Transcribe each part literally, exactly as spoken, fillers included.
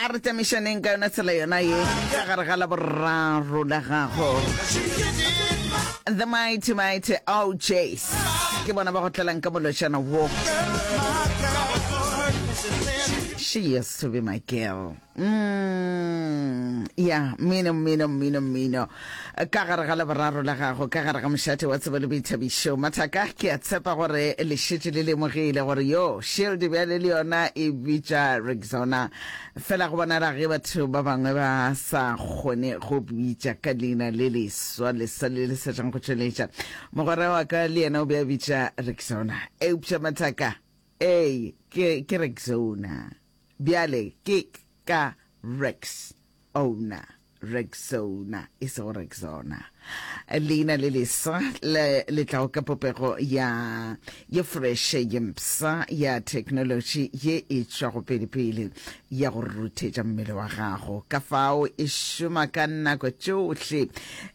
A re tamišaneng ka yona tsela yona ye ka gare ga Laboraro la gago. The Mighty Mighty O Js ke bona ba go tlelang ka molotšana wo, "She Used to Be My Girl". mm, ya mmino, mmino, mmino, mmino ka gare ga Laboraro la gago, ka gare ga mošate wa tsebo le boithabišo. Mathaka, ke a tshepa gore le šetše le lemogile gore yo Shield bjale le yona e bitša Rexona. Fela go bonala ge batho ba bangwe ba sa kgone go bitša ka leina le leswa le sa le le sa tšang go tšweletša. Mogwera wa ka le yena o be a bitša Rexona, eupša mathaka, ee, ke ke Rexona bjale, ke ka Rex owner, Rexona e sego Rexona. Leina le leswa le le tlago ka popego ya ye fresh, ye mpsha, ya technology ye e tšwago pele-pele ya go ruthetša mmele wa gago. Ka fao e šoma ka nako tšohle um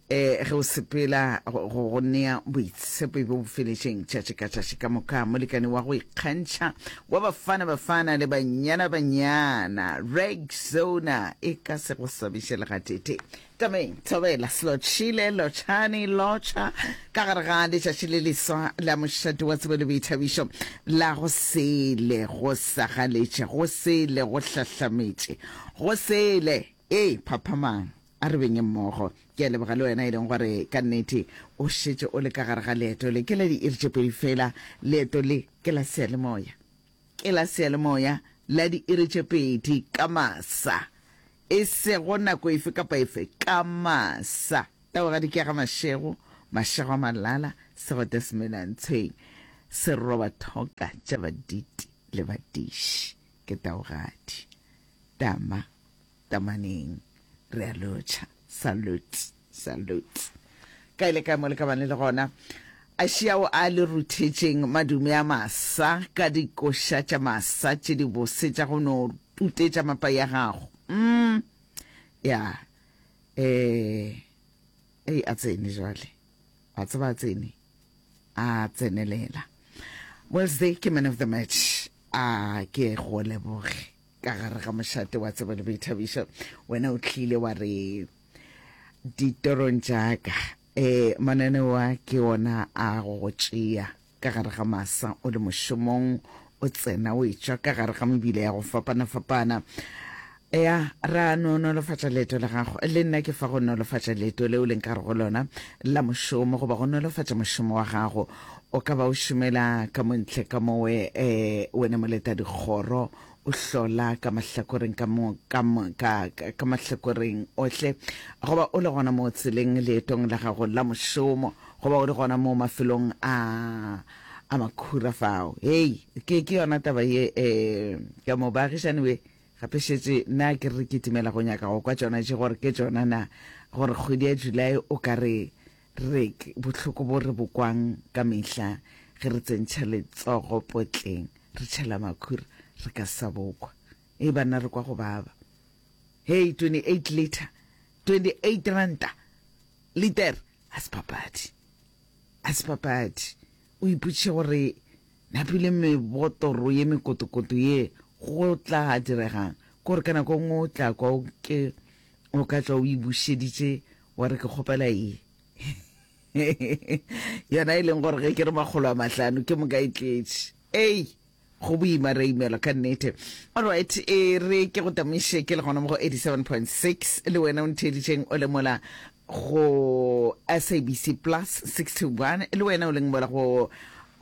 ge o sepela go go nea boitshepo bjo bo feletšeng tšatši ka tšatši ka moka. Molekane wa go ikgantšha wa Bafana Bafana le Banyana Banyana, Rexona e ka se go swabiše le gatete. Tameng, thobela, slotšhile, lotšhane, lotšha ka gare ga letšatši le leswa la mošate wa tsebo le boithabišo la go sele go sagaletše, go sele go hlahlametše, go sele. Ee, phaphamang, a re beng mmogo. Ke a leboga le wena e leng gore ka nnete o šetše o le ka gare ga leeto le. Ke la diiri tše pedi fela leeto le, ke la seyalemoya, ke la seyalemoya la diiri tše pedi ka masa, e sego nako efe kapa efe, ka masa. Taogadi ke ya ga Mašego, Mašego a Malala, segote semelantshweng seroba thoka tša baditi le badiši. Ke taogadi tama tamaneng, re a lotšha. Salute, salute, kae le kae mo le ka bane le gona. A šiao a le ruthetšeng madume a masa ka dikoša tša masa tše di bose tša go no tutetša mapa ya gago. mm ya eh ei, a tsene jwale, a tseba a tsene, a tsenelela. Wednesday ke man of the match. A ke go leboge ka gare ga mošate wa tsebo le boithabišo. Wena o tlile wa re ditorong tšaka um mananeo a ke ona a go go tšea ka gare ga masa o le mošomong, o tsena o etšwa ka gare ga mebile ya go fapana-fapana. Ya ra no nolofatša leeto la gago. Le nna ke fa go nolofatša leeto leo leng ka re go lona la mošomo, goba go nolofatša mošomo wa gago. O ka ba o šomela ka montle ka mowe, um wena moleta dikgoro, o hlola ka mahlakoreng ka mo ka mo ka ka mahlakoreng ohle, goba o le gona mo tseleng leetong la gago la mošomo, goba o le gona mo mafelong a a makhura fao. Hei, ke ke yona taba ye um ka mo baagišane we gape šetše nna ke re ke timela go nyaka go kwa tšona tše gore ke tšona na, gore kgwedi ya July o ka re re bohloko bo re bo kwang ka mehla ge re tsentšha letsogo potleng re tšhela makhura re ka sa bokwa. E banna, re kwa go baba. Hei, twenty-eight liter, twenty-eight ranta liter, a se papadi, a se papadi. O ipotšiše gore napile mebotoro ye mekotokoto ye go tla diregang, kore ka nako nngwe o tla kwa o ke o ka tswa o e bušeditše wa re ke kgopela ye yona e leng gore ge ke re makgolo a mahlano ke moka e tletše. Ei, go boima, re imelwa ka nnete. Alright, e re ke go tamiše ke le gona mo go eighty-seven point six, le wena o ntheeditšeng o le mola go S A B C plus sixty-one, le wena o leng mola go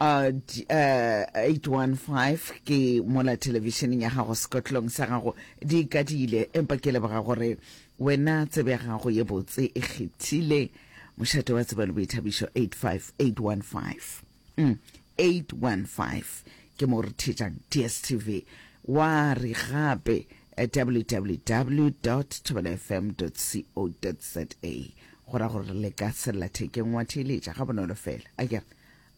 uh, uh, eight one five, ke mola televisioneng ya gago, sekotlong sa gago di kadile. Empa ke leboga gore wena tsebe ya gago ye botse e kgethile mošate wa tsebo le boithabišo eight five eight one five. mm, eight one five ke mo re thetšang D S T V, wa re gape W W W thobela F M co za, go ra gore le ka sellathekeng wa theeletša ga bonolo fela. A kere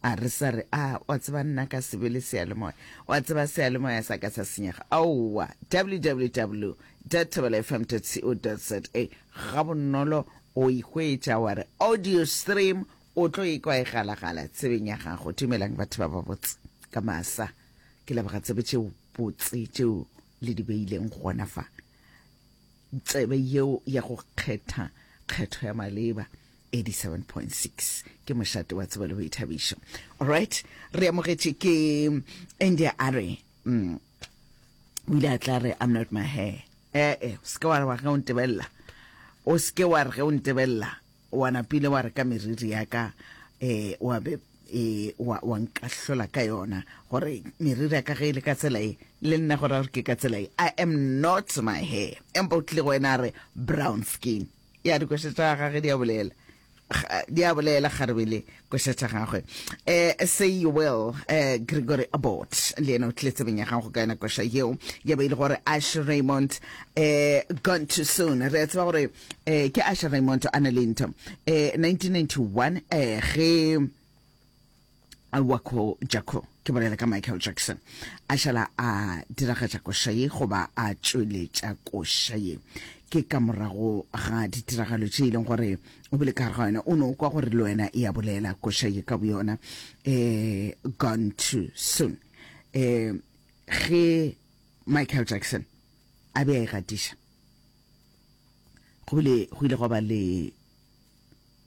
a re sa re a wa tseba nna ka sebe le seyalemoya, wa tseba seyalemoya sa ka sa senyega. Aowa, W W W thobela F M co za, ga bonolo o ihwetša wa re audio stream, o tlo ikwa e galagala tsebeng ya gago. Dumelang batho ba ba botse ka masa. Ke leboga tsebe tšeo botse tšeo le di beileng gona fa. Tsebe yeo ya go kgetha kgetho ya maleba. eighty-seven point six ke mošate wa tsebo le boithabišo. Alright, re amogetše ke India a re mm, o ile a tla re I'm not my hair. Eh eh, o se ke wa re wa ge o ntebelela, o se ke wa re ge o ntebelela wa napile wa re ka meriri ya ka, eh, wa be e wa, wa nkahlola ka yona gore meriri ya ka ge e le ka tsela e le nna gore gore ke ka tsela e. I am not my hair. Empa o tlile go wena a re brown skin. Ya dikoša tša gagwe di a bolela, di a bolela kgarebele koša tša gagwe. Eh, say you will, eh, Gregory Abbott le yena o tlile tsebeng ya gago ka yona koša yeo ya be e le gore Ash Raymond, eh, gone too soon. Re a tseba gore eh, ke Ash Raymond a na le ntho eh, nineteen ninety-one, eh, ge Wako Jaco, ke bolela ka Michael Jackson, a šala a diragatša koša ye goba a tšweletša koša ye. Ke ka morago ga ditiragalo tše e leng gore o bile ka gare ga yona, o no kwa gore le wena e a bolela koša ye ka boyona, eh, gone too soon. Eh, ge Michael Jackson a be a e gatiša, go bile go ile gwa ba le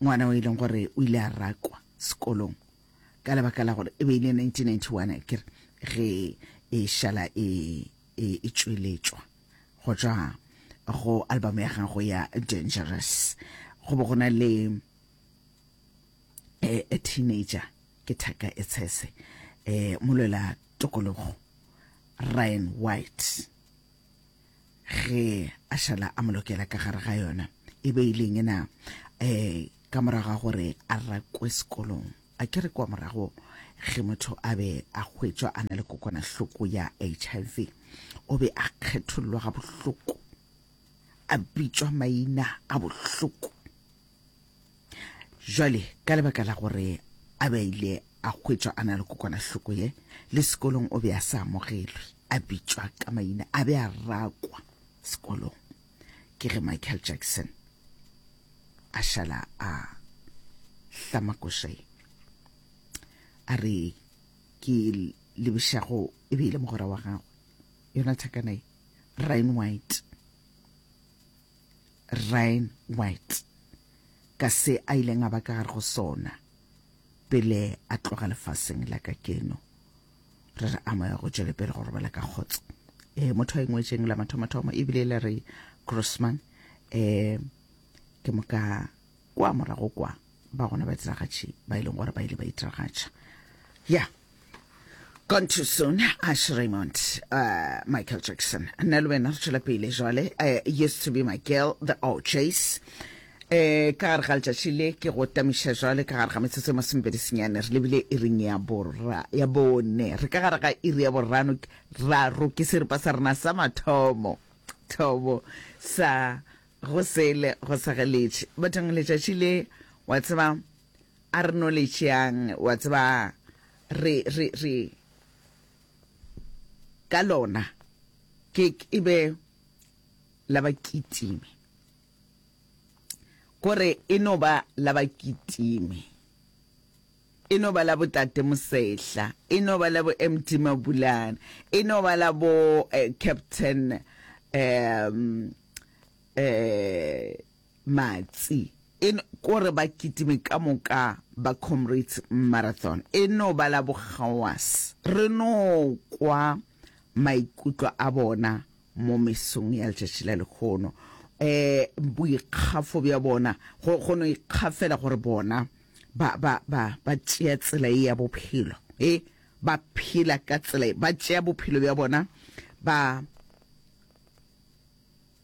ngwana o e leng gore o ile a rakwa sekolong ka lebaka la gore e be e le nineteen ninety-one, ke re ge e šala e, e, e tšweletšwa go tšwa go album ya gago ya Dangerous. Go bo go na le, eh, a teenager ke thaka e tshese, eh, molwela tokologo Ryan White, ge a šala a molokela ka gare ga yona e be e leng ena, eh, ka morago ga gore a rakwe sekolong. A ke re kwa morago ge motho a be a hwetšwa a na le kokwanahloko ya H I V, o be a kgethollwa ga bohloko, a bitšwa maina a bohloko. Jwale ka lebaka la gore a be a ile a hwetšwa a na le kokwanahloko ye, le sekolong o be a sa amogelwe, a bitšwa ka maina, a be a rakwa sekolong. Ke ge Michael Jackson a šala a hlama koša ye, a re ke lebišago e be e le mogwera wa gagwe, yona thakana ye, Ryan White. Ryan White, ka se a ileng a ba ka gare go sona pele a tloga lefaseng la ka keno. Re re a moya go tšwele pele go robala ka kgotso. Eh, motho a ingwetšeng la mathomathomo ebile le re Grossman, eh, ke moka kwa morago kwa ba gona ba diragatši ba e leng gore ba ile ba itiragatša. Yeah. Gone too soon, Ash Raymond, uh, Michael Jackson. Nna le wena re tšwela pele jwale, uh, used to be my girl, the O'Jays. Eh, ka gare ga letšatši le ke go tamiša jwale ka gare ga metsotso e masomepedi senyane, re lebile iring ya borra, ya bone. Re ka gare ga iri ya borano, raro ke seripa sa rena sa mathomo, thomo sa go sele go sa geletše. Bathong letšatši le, wa tseba, a re no le tšeang, wa tseba, re, re, re ka lona ke e be la ba kitime, kore e no ba la ba kitime, e no ba la bo tate Mosehla, e no ba la bo M T Mabulana, e no ba la bo, eh, Captain, um, eh, Matsi, e no, kore ba kitime ka moka ba Comrades Marathon, e no ba la bo Gawas. Re no kwa maikutlo a bona mo mesong ya letšatši la lekgono, eh, boikgafo bja bona, go, go no ikgafela gore bona ba, ba, ba, ba tšea tsela ye ya bophelo, eh, ba phela ka tsela ye, ba tšea bophelo bja bona, ba,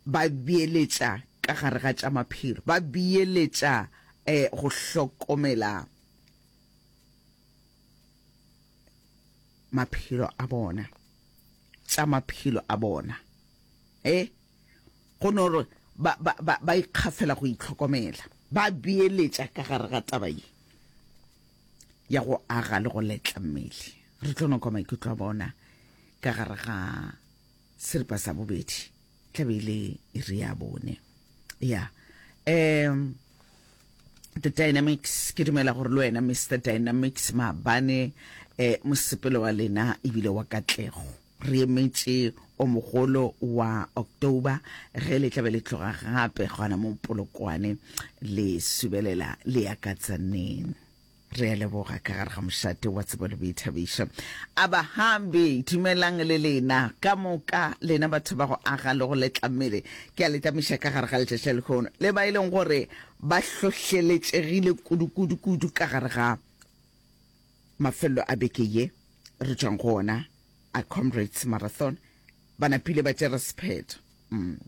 ba beeletša ka gare ga tša maphelo, ba beeletša, eh, go hlokomela maphelo a bona, tša maphelo a bona, eh, go no re ba, ba, ba, ba ikgafela go itlhokomela, ba beeletša ka gare ga taba ye ya go aga le go letla mmele. Re tlo no kwa maikutlo a bona ka gare ga seripa sa bobedi, tla be e le iri ya bone. Ya, um, The Dynamics, ke dumela gore le wena Mister Dynamics maabane, eh, mosepelo wa lena ebile wa katlego. Re emetše o mogolo wa October ge le tla be le tloga gape gona mo Polokwane le subelela le ya ka Tzaneen. Re a leboga ka gare ga mošate wa tsebo le boithabišo. Abahambi, dumelang le lena ka moka, lena batho ba go aga le go letla mmele. Ke a le tamiša ka gare ga letšatši la lehono, le ba e leng gore ba hlohleletšegile kudu-kudu-kudu ka gare ga mafelelo a beke ye re tšwang go ona a Comrades Marathon. Ba napile ba tšere sephetho. Mm.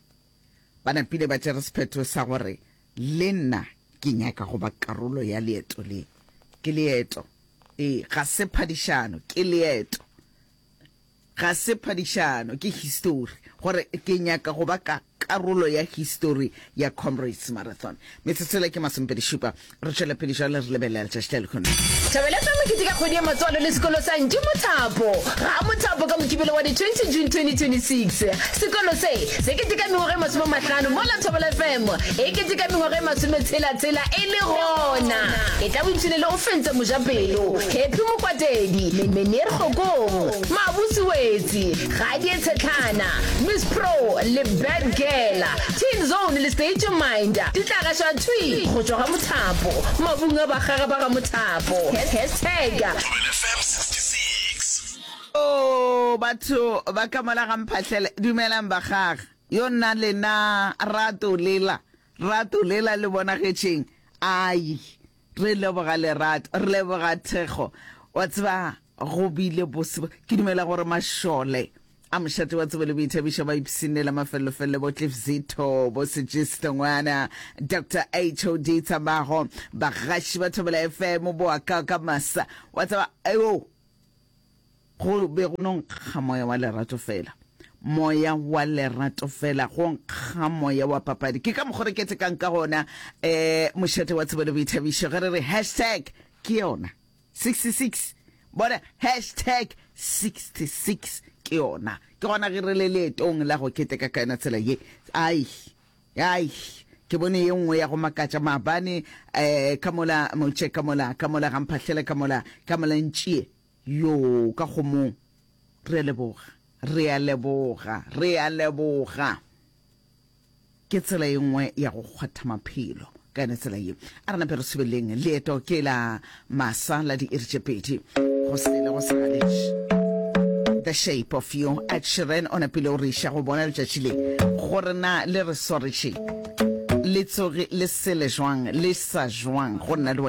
Ba napile ba tšere sephetho sa gore le nna ke nyaka go ba karolo ya leeto le. Ke leeto. Ee, ga se phadišano, ke leeto. Ga se phadišano, ke histori. Gore ke nyaka go ba ka karolo ya histori ya Comrades Marathon. Metsotso yela ke masomepedi šupa. Re tšwela pele jwale re lebelela letšatši la lehono. Thobela F M e keteka kgwedi ya matswalo le sekolo sa Ntši Mothapo ga Mothapo ka Mokibelo wa di twenty June twenty twenty-six. Sekolo se se keteka mengwaga e masome mahlano mola Thobela F M e keteka mengwaga e masome tshela tshela e le gona. E tla boipshine le Ofentse Mojapelo, Happy Mokwatedi, Meneer Kgokong, Mabusi Wetsi, Gadie Tshetlhana, Miss Pro le Bad Girl. Teen Zone le State Your Mind di tla gašwa thwi go tšwa ga Mothapo, mabung a bakgaga ba ga Mothapo. Hashtag. Thobela F M sixty-six. Oh, batho ba ka mola ga Mphahlele, dumelang bakgaga. Yo nna lena rato lela, rato lela le bonagetšeng. Ai, re leboga lerato, re leboga thekgo. Wa tseba, go bile bose. Ke dumela gore mašole a mošate wa tsebo le boithabišo ba ipshinela mafellofello, bo Cliff Zito, bo Sejisto Ngwana, Doctor H O D Tshamago, bagaši ba Thobela F M, bo Akaka Masa. Wa tseba, eo, go be go no nkga moya wa lerato fela. Moya wa lerato fela, go nkga moya wa papadi. Ke ka mokgwa re ketekang ka gona, eh, mošate wa tsebo le boithabišo. Ge re re hashtag ke yona sixty-six, bona hashtag sixty-six ke yona. Ke gona ge re le leetong la go keteka ka yona tsela ye. Ai, ai, ke bone ye nngwe ya go makatša maabane, eh, ka mola motše, ka mola, ka mola ga Mphahlele, ka mola, ka mola Ntšie. Yo, ka kgomong. Re a leboga, re a leboga, re a leboga. Ke tsela ye nngwe ya go kgwatha maphelo ka yona tsela ye. A re nape re subeleng leeto ke la masa la diiri tše pedi go sele go sa galetše. The Shape of You, Ed Sheeran o napile o re iša go bona letšatši le gore na le re swaretše le tsoge le sele jwang le sa jwang go nna le wena.